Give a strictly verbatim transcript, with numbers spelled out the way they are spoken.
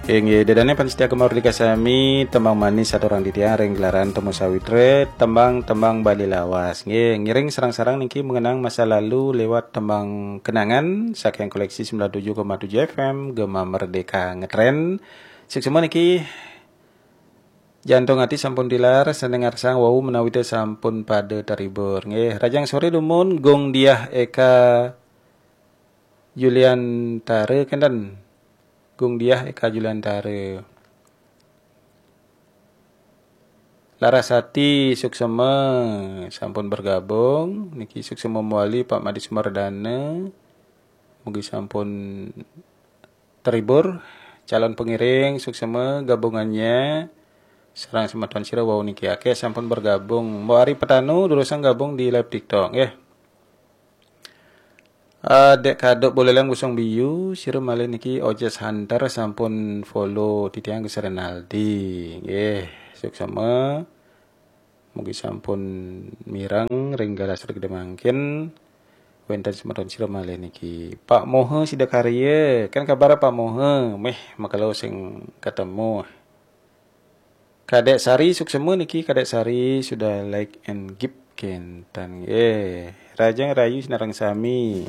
Inggih, ida dané pamiarsa Gema Merdeka sami, tembang manis saturang titiang ring gelaran Temu Sawitra, tembang-tembang Bali lawas. Nggih, ngiring sareng-sareng niki mengenang masa lalu lewat tembang kenangan saking koleksi sembilan tujuh koma tujuh F M, Gema Merdeka ngetren. Suksma niki, Jantung Ati sampun tilar, sané ngarsang wau menawi té sampun pada terhibur. Nggih, rahajeng soré dumun, Gung Diah Eka Juliantara kénten. Gung Diah Eka Juliantara. Larasati suksma sampun bergabung. Niki suksma mawali Pak Madi Sumardana. Mugi sampun terhibur. Calon pengiring suksma gabungannya sareng semeton sira wau niki akéh sampun bergabung. Mbok Ari Petanu durusang gabung di live TikTok nggih. Ah, Dék Kaduk Buleleng Busung Biu, sira malih niki Ojes Hunter sampun follow titiang Gus Renaldi. Nggih, suksma. Mugi sampun mireng ring galah sregeda mangkin. Wénten semeton sira malih niki. Pak Moha Sidakarya, kan kabar Pak Moha, méh makelo sing ketemu. Kadék Sari suksma niki, Kadék Sari sudah like and give kénten. Eh, rahajeng rahayu sinareng sami.